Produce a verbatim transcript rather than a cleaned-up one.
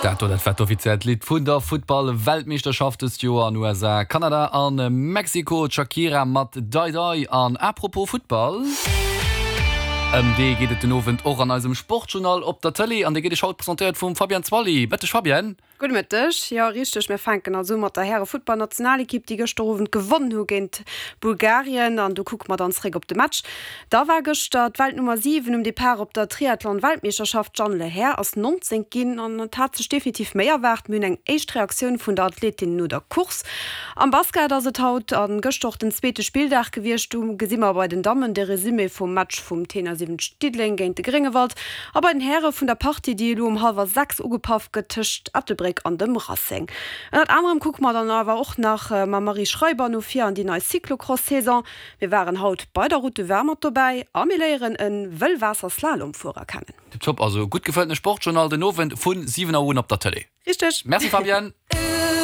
Dat do, dat war d'offiziellt Lidd vun der Futtball-Weltmeeschterschaft dëst Joer an U S A, Kanada an Mexiko, d'Shakira mat Dai Dai. An apropos Futtball, ëm dee geet et den Owend och an eisem Sportjournal op der Tëlee an dee gëtt iech haut presentéiert vum Fabienne Zwally. Mëtteg, Fabienne. Gudde Mëtteg. Jo, richteg, mir fänken also u mat der Häre-Futtballnationalekipp, déi gëschter Owend gewonnen hu géint Bulgarien an do kucke mer dann zeréck op de Match. Da war gëschter d'Weltnummer siwen um Depart op der Triathlon-Weltmeeschterschaft. D'Jeanne Lehair ass nonzéngt ginn an et hat sech definitiv méi erwaart. Mir hunn eng éischt Reaktioun vun der Athletin no der Course. Am Basket ass et haut a gëschter och den zweete Spilldag gewiescht. Do gesi mer bei den Dammen de Resumé vum Match vum Tenor siwwenzeg Diddeleng géint de Gréngewald a bei den Häre vun der Partie, déi elo um hallwer sechs ugepaff gëtt tëscht Ettelbréck an dem Racing. Ënnert anerem kucke mer dann awer och nach mam Marie Schreiber no vir an déi nei Cyclocross-Saison. Mir waren haut bei der Route du Vin mat dobäi a mir léieren e Wëllwaasser-Slalomfuerer kennen. Tipptopp, also gutt gefëlltene Sportjournal den Owend vu siwen Auer un op der Tëlee. Richteg. Merci, Fabienne.